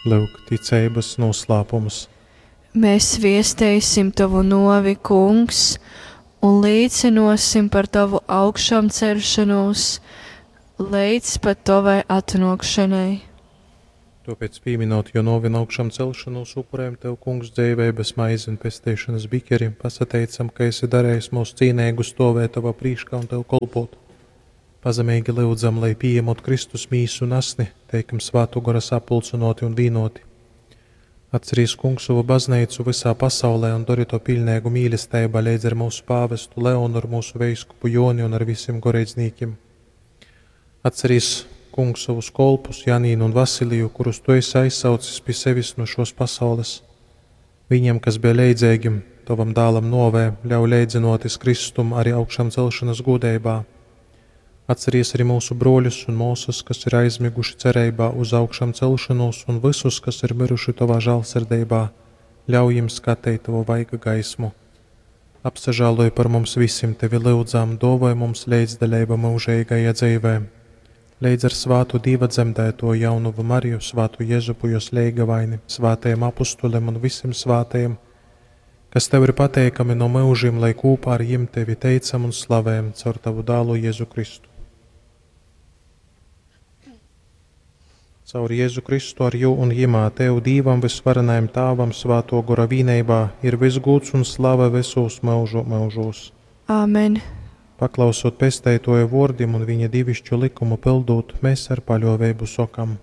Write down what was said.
Lyuk, ticeibas noslēpums. Mēs viesteisim tavu novi, kungs, un līcinosim par tavu augšāmceļšanos līdz pat tavai atnākšanai. Tāpēc, pieminot jo novi un augšām celšanos, upurējam Tev, Kungs, dzīveibas maizi un pestīšanas bikeri, pasateicam, ka esi darījis mūs cīnīgu stovēt Tavā prīškā un Tev kolpot. Pazemīgi lūdzam, lai pieņemot Kristus mīsu un asni, teikam svātu gora sapulcinoti un vīnoti. Atcerīs, Kungs, savu baznīcu visā pasaulē un dori to pilnīgu mīlestībā līdz ar mūsu pāvestu Leonu, ar mūsu veiskupu Joni un ar visiem goreidznīkiem. Atcerīs, Kungs, savus kolpus Janīnu un Vasiliju, kurus tu esi aizsaucis pie sevis no šos pasaules. Viņiem, kas bija leidzīgi tavam dālam novē, ļauj leidzinoties Kristum arī augšām celšanas gūdeibā. Atceries arī mūsu broļus un māsas, kas ir aizmiguši cerībā uz augšām celšanos, un visus, kas ir miruši tavā žēlsirdībā, ļauj jiem skatīt tavu vaiga gaismu. Apsažāloj par mums visiem, tevi lūdzām, dovoj mums līdzdaļību mūžīgajā dzīvē. Līdz ar svātu Dieva dzemdēto jaunuvu Mariju, svātu Jezupu, jos leigavaini, svātajiem apustuliem un visiem svātajiem, kas tev ir pateikami no mūžiem, lai kopā ar jiem tevi teicam un slavējam caur tavu dālu Jēzu Kristu. Caur Jēzu Kristu ar jū un jimā Tev Dīvam visvarenajam Tāvam svāto gora vīneibā ir visgūts un slava visos mūžu mūžos. Āmen. Paklausot pesteitoja vōrdim un viņa divišķu likumu pildūt, mēs ar paļōveibu sokam.